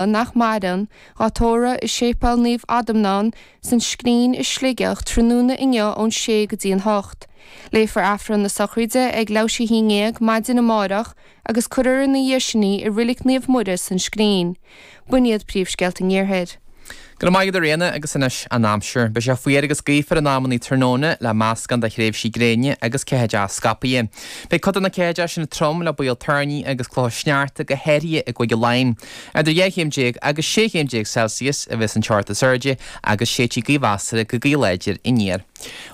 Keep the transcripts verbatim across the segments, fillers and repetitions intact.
nach maireann, dhá tórramh i Séipéal Naomh Adhamhnán san Scrín i Sligeach tráthnóna inniu ón sé go dtí an hocht. Léifear Aifreann na sochraide ag leathuair tar éis a haon déag maidin amárach agus cuirfear ina dhiaidh sin í i Reilig Naomh Muire san Scrín. B'in iad príomhscéalta an Iarthair. Go raibh maith agat a Ríona agus anois an aimsir. Beidh sé fuar agus gaofar in amannaí tráthnóna le meascán de thréimhsí gréine agus ceathaideacha scaipthe. Beidh cuid de na ceathaideacha sin trom le baol toirní agus clocha sneachta go háirithe i gCúige Laighean. Idir dhá chéim déag agus sé chéim déag Celsius a bheas an teocht is airde agus séidfidh gaoth mheasartha go gaoth láidir aniar.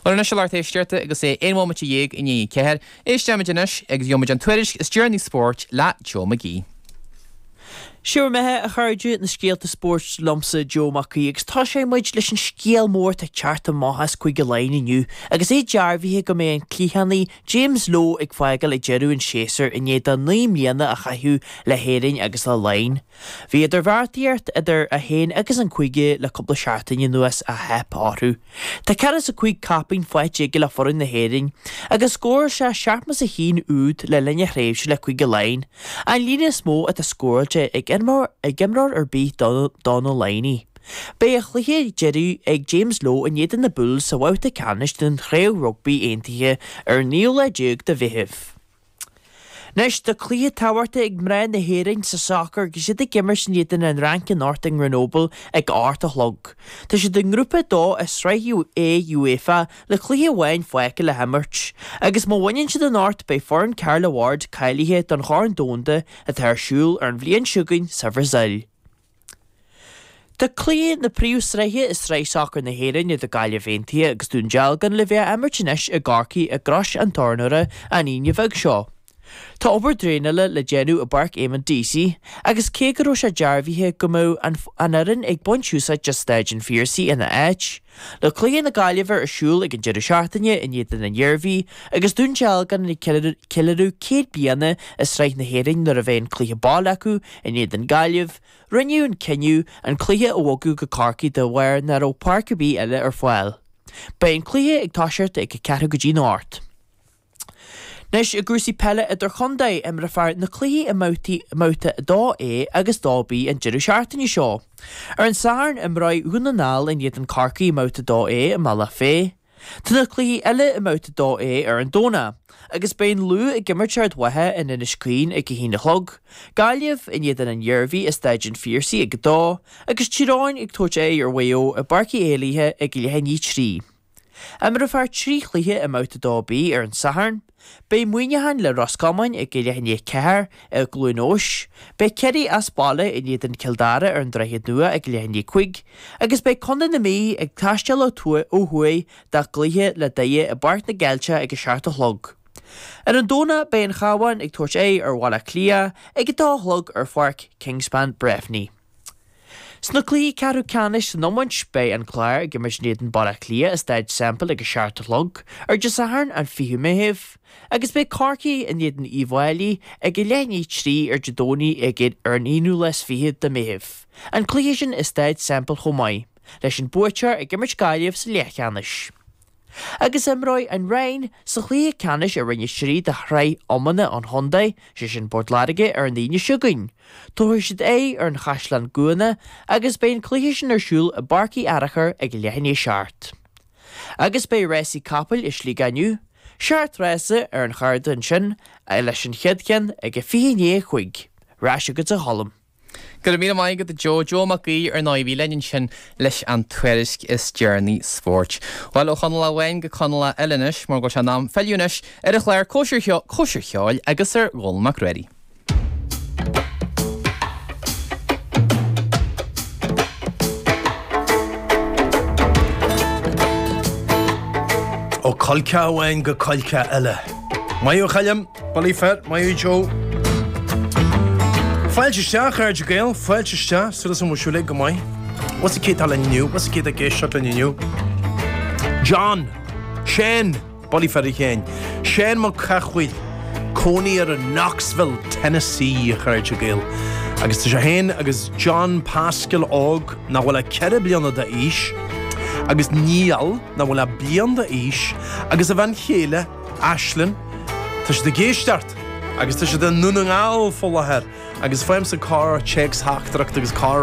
Bhuel anois a lucht éisteachta agus é aon bhomaite dhéag i ndiaidh a ceathair, éistfimid anois agus gheobhaimid an tuairisc is deireanaí spóirt le Joe McGee. Sé bhur mbeatha, a chairde, na scéalta spóirt liomsa, Joe Mac Aoidh, agus tosóidh muid leis an scéal mór atá ag teacht amach as Cúige Laighean inniu agus é dearbhaithe go mbeidh an cliathánaí James Lowe ag fágáil ag deireadh an tséasúir i ndiaidh dó naoi mbliana a chaitheamh le hÉirinn agus le Laighin. Bhí idirbheartaíocht idir é féin agus an cúige le cúpla seachtain anuas ach theip orthu. Tá ceathracha is a cúig caipín faighte aige le foireann na hÉireann agus scóráil sé seachtó is a haon úd le linn a thréimhse le Cúige Laighean, an líon is mó atá scóráilte ag imreoir ar bith do na Laighnigh. Beidh a chluiche deiridh ag James Lowe in éadan na Bulls sa bhabhta ceannais den Chraobh Rugbaí Aontaithe ar an naoú lá déag de Mheitheamh. Anois, tá cluiche tábhachtach ag mná na hÉireann sa sacar agus iad ag imirt in éadan an Fhrainc anocht i nGrenoble ag a hocht a chlog. Tá siad i nGrúpa a dó i Sraith A UEFA le cluiche amháin fágtha le himirt. Agus má bhaineann siad anocht beidh foireann Carla Ward cáilithe don Chorn Domhanda atá ar siúl ar an bhliain seo chugainn sa Bhrasaíl. Tá cluiche na príomhsraithe i Sraith Sacair na hÉireann idir Gaillimh Aontaithe agus Dún Dealgan le bheith á imirt anois i gCorcaigh i gCrois an Tornóra an Aoine bheag seo. Tá obair draenála le déanamh i bPáirc Eamonn Deacy agus cé go raibh sé dearbhaithe go mbeadh an fhoireann ag baint úsáid de Staid an Phiarsaigh ina áit, le cluiche na Gaillimhe ar siúl ag an deireadh seachtaine in éadan an Iarmhí agus Dún Dealgan ag ceiliúradh céad bliana i Sraith na hÉireann nuair a bheidh an cluiche baile acu in éadan Gaillimh, Rinneadh an cinneadh an cluiche a bhogadh go Corcaigh de bharr nach raibh páirc ar bith eile ar fáil. Beidh an cluiche ag toiseacht ag a ceathrú go dtí'n ocht. Anois i gcúrsaí peile idirchontae, imreofar na cluichí i mbabhtaí mbabhta a dó A agus dó B an deireadh seachtaine seo. Ar an Satharn imreoidh Dhún na nGall in éadan Corcaigh i mbabhta a dó A i mBealach Féich. Tá na cluichí eile i mBabhta dó A ar an Domhnach, agus beidh an Lú ag imirt Ard Mhacha in Inis Caoin ag a haon a chlog, Gaillimh in éadan an Iarmhí i Staid an Phiarsaigh ag a dó, agus Tír Eoghain ag tabhairt aghaidh ar Mhaigh Eo i bPáirc Uí Éilithe ag leath i ndiaidh a trí. Imreofar trí chluiche i mBabhta dó B ar an Satharn. Beidh Muineachán le Ros Comáin ag leath i ndiaidh a ceathair i gCluain Eois, beidh Ciarraí as baile in éadan Cill Dara ar an Droichead Nua ag leath i ndiaidh a cúig, agus beidh Contae na Mí ag taisteal ó thuaidh dá gcluiche le Doire i bPáirc na gCeilteach ag a seacht a chlog. Ar an Domhnach beidh an Chabhán ag tabhairt aghaidh ar Bhaile Átha Cliath ag a dó a chlog ar Pháirc Kingspan Breffni. Sna cluichí ceathrú ceannais san iomáint, beidh an Clár ag imirt in éadan Baile Átha Cliath i Staid Semple ag a seacht a chlog ar Dé Sathairn an fichiú Meitheamh, agus beidh Corcaigh in éadan Uíbh Fhailí ag a leath i ndiaidh a trí ar Dé Domhnaigh ag ar an aonú lá is fiche de Mheitheamh, an cluiche sin i Staid Semple chomh maith, leis an buaiteoir ag imirt Gaillimh sa leathcheannais. Agus imreoidh an Rinn sa chluiche ceannais i Roinn a trí de Shraith Iomána an Chontae, sé sin Port Láirge, ar an Aoine seo chugainn. Tabharfaidh siad aghaidh ar an Chaisleán Cuana agus beidh an cluiche sin ar siúl i bPáirc Uí Fhearachair ag leath i ndiaidh a seacht. Agus beidh rásaí capaill i Sligeach inniu, seacht rása ar an chárta ansin leis an chéad cheann ag a fiche i ndiaidh a cúig. Ar ais chugat a Cholm. Go raibh míle maith agat a Joe. Joe Mac Aoidh ar ndóigh a bhí linn ansin leis an tuairisc is deireanaí spóirt. Bhuel, ó Chonallach amháin go Conallach eile anois, mar go bhfuil sé in am filleadh anois ar an chlár Cóisir Cóisir Cheoil agus ar Dhónall Mac Ruairí. Ó choilceach amháin go coilceach eile. Maith thú a Choilm! Bullaí fir, maith thú Joe. Fáilte isteach, a chairde Gael, fáilte isteach, súil agam go bhfuil sibh uilig go maith. What's the cé atá linn inniu? What's the cé atá ag éisteacht linn inniu? John! Shane! Bullaí fir a Sheáin. Shane Mac Cathmhaoil, cónaí air i Knoxville, Tennessee, a chairde Gael. Agus tá sé féin agus John Pascal óg, nach bhfuil ach ceithre bliana d'aois, agus Niall, nach bhfuil ach bliain d'aois, agus a bhean chéile, Aislinn, tá siad ag éisteacht agus tá siad i nDún na nGall faoi láthair Agus faighimse corr téacs-theachtaireacht agus corr